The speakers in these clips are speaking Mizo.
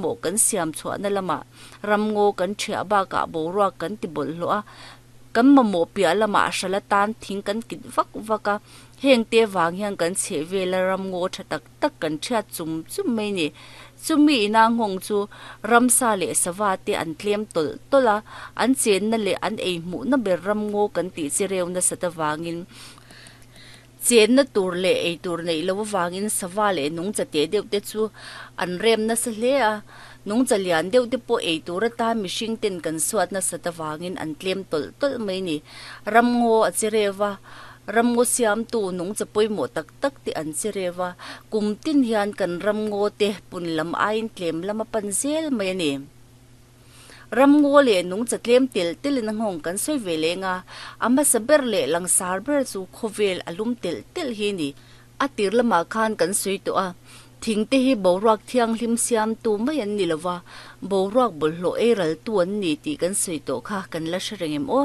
pawimawh kan siam chhuahna lamah ramngaw kan ṭhiah bakah boruak kan ti bawlhhlawh a, kan mamawh piah lamah hralh atan thing kan kit vak vak a, heng te vang hian kan chhehvela ramngaw ṭha tak tak kan ṭhiat chum chum mai ni. Chumi ina nghawng chu ramsa leh sava te an tlem tawlh tawlh a, an chenna leh an ei hmuhna ber ramngaw kan tih chi reu nasat avangin Chenna tur leh ei tur neih loh avangin sava leh nungcha teh deuh te chu an rem nasa hle a, nungcha lian deuh te pawh ei tur atan mihring ten kan suat nasat avangin an tlem tawlh tawlh mai ni. Ramngaw a che rev a, ramngaw siamtu nungcha pawimawh tak tak te an che rev a, kum tin hian kan ramngaw te pun lam aiin tlem lam a pan zel mai a ni. Ramngaw leh nungcha tlem tel telin a nghawng kan sawi ve leng a, a hmasa ber leh langsar ber chu khawvel a lum telh telh hi a ni. A tir lamah khan kan sawi tawh a, thing te hi boruak thianghlim siamtu mai an ni lova, boruak bawlhhlawh ei raltu an ni tih kan sawi tawh kha kan la hre reng em aw?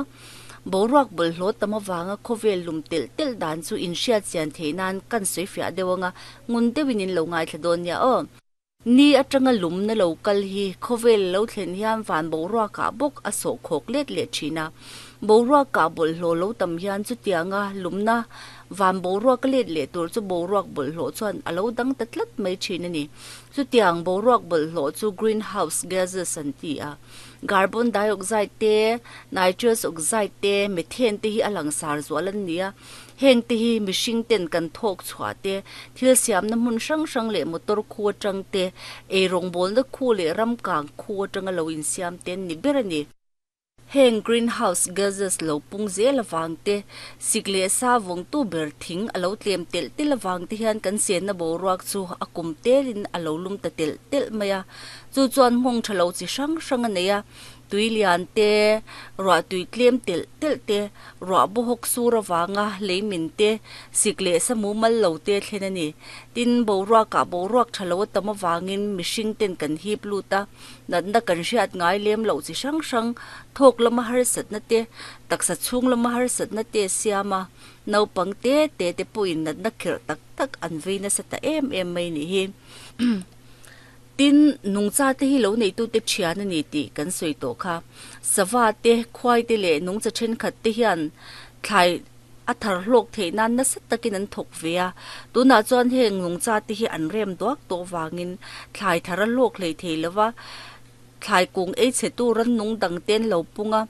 Boruak bawlhhlawh tam avanga khawvel lum telh telh dan chu inhriat chian theih nan kan sawi fiah deuh anga ngun deuhin in lo ngaithla dawn nia aw. Ni atanga lumna lo kal hi khawvel lo thlen hian van boruakah bawk a sawh khawk let leh thin a. Boruakah bawlhhlawh lo tam hian chutianga lumna van boruak a let leh tur chu boruak bawlhhlawh chuan a lo dang ta tlat mai thin a ni. Chutiang boruak bawlhhlawh chu greenhouse gases an ti a. Carbon dioxide te, nitrous oxide te, methane te hi a langsar zual an ni a. Heng te hi mihring ten kan thawk chhuah te, thil siamna hmun hrang hrang leh motor khu atang te, eirawngbawlna khu leh ram kang khu atanga lo insiam te an ni ber a ni. Heng greenhouse gases lo pung zel avang te, sik leh sa vawngtu ber thing a lo tlem telh telh avang te hian kan chenna boruak chu a kum telin a lo lum ta telh telh mai a. Chu chuan nghawng tha lo chi hrang hrang a nei a. Tui lian te, ruah tui tlem telh telh te, ruah bawhawk sur avanga lei min te, sik leh sa mumal lo te thlen a ni. Tin, boruakah boruak tha lo a tam avangin mihring ten kan hip lut a, natna kan hriat ngai lem loh chi hrang hrang, thawk lama harsatna te, taksa chhung lama harsatna te a siam a, naupang te te te pawhin natna khirh tak tak an vei nasa ta em em mai nih hi. Tin, nungcha te hi lo neitute thian a ni tih kan sawi tawh kha. Sava te, khuai te leh nungcha thenkhat te hian thlai a thar hlawk theih nan nasa takin an thawk ve a. Tunah chuan heng nungcha te hi an rem duak tawh vangin thlai thar a hlawk hlei thei lo va, thlai kung ei chhetu rannung dang te an lo pung a,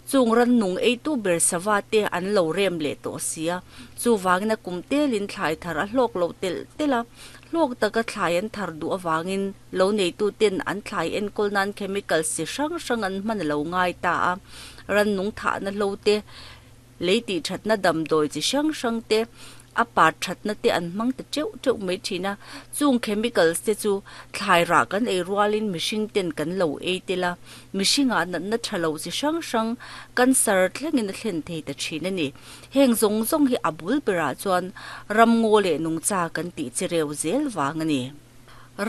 chung rannung eitu ber sava te an lo rem leh tawh si a. Chuvangin a kum telin thlai thar a hlawk lo telh telh a. Hlawk taka thlai an thar duh avangin lo neituten an thlai enkawl nan chemicals chi hrang hrang an hman a lo ngai ta a, rannung thahna hlo te, lei tih thatna damdawi chi hrang hrang te, a par thatna te an hmang ta teuh teuh mai thin a. Chung chemicals te chu thlai rah kan ei rualin mihring ten kan lo ei tel a, mihringah natna tha lo chi hrang hrang cancer thlengin a thlen thei ta thin a ni. Heng zawng zawng hi a bul berah chuan ramngaw leh nungcha kan tih chi reu zel vang a ni.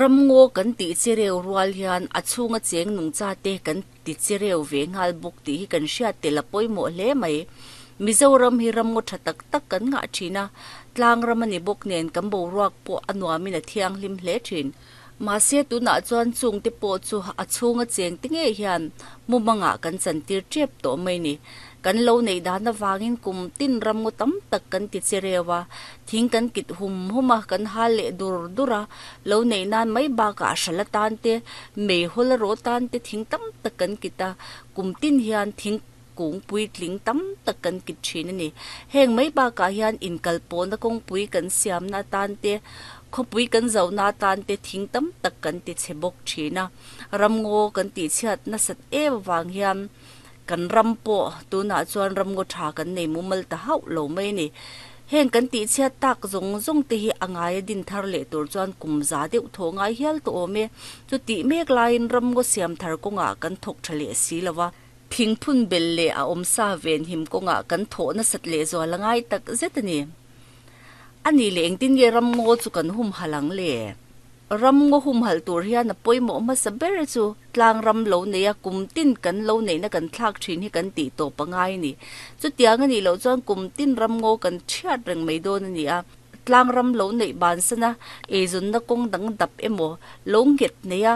Ramngaw kan tih chi reu rual hian a chhunga cheng nungcha te kan ti chi reu ve nghal bawk tih hi kan hriat tel a pawimawh hle mai. Mizoram hi ramngaw tha tak tak kan ngah thin a, tlang ram a ni bawk nen kan boruak pawh a nuamin a thianghlim hle thin. Mahse tunah chuan chungte pawh chu a chhunga chengte ngei hian mumangah kan chantir tep tawh mai ni. Kan lo neih dan avangin kum tin ramngaw tam tak kan ti che reu a, thing kan kit hum hum a, kan hal leh dur dur a, lo neih nan mai bakah hral atan te, meihawl a rawh tan te thing tam tak kan kit a, kum tin hian thing kung puitling tam tak kan kit thin a ni. Heng mai bakah hian inkalpawhna kawngpui kan siamna atan te, khawpui kan zohna atan te thing tam tak kan ti chhe bawk thin a. Ramngaw kan tihchhiat nasat em avang hian kan ram pawh tunah chuan ramngaw tha kan nei mumal ta hauh lo mai a ni. Heng kan tihchhiat tak zawng zawng te hi a ngaia din thar leh tur chuan kum za deuh thaw ngai hial tawh awm e. Chutih mek laiin ramngaw siam thar kawngah kan thawk tha leh si lo va. Thingphun bel leh a awmsa venhim kawngah kan thawh nasat leh zual a ngai tak zet a ni. A nih leh engtin nge ramngaw chu kan humhalh ang le? Ramngaw humhalh tur hian a pawimawh hmasa ber chu tlang ram lo neia kum tin kan lo neihna kan thlak thin hi kan tih tawp a ngai a ni. Chutiang a nih loh chuan kum tin ramngaw kan chhiat reng mai dawn a ni a. Tlang ram lo neih bansana eizawnna kawng dang dap emaw lo nghet neia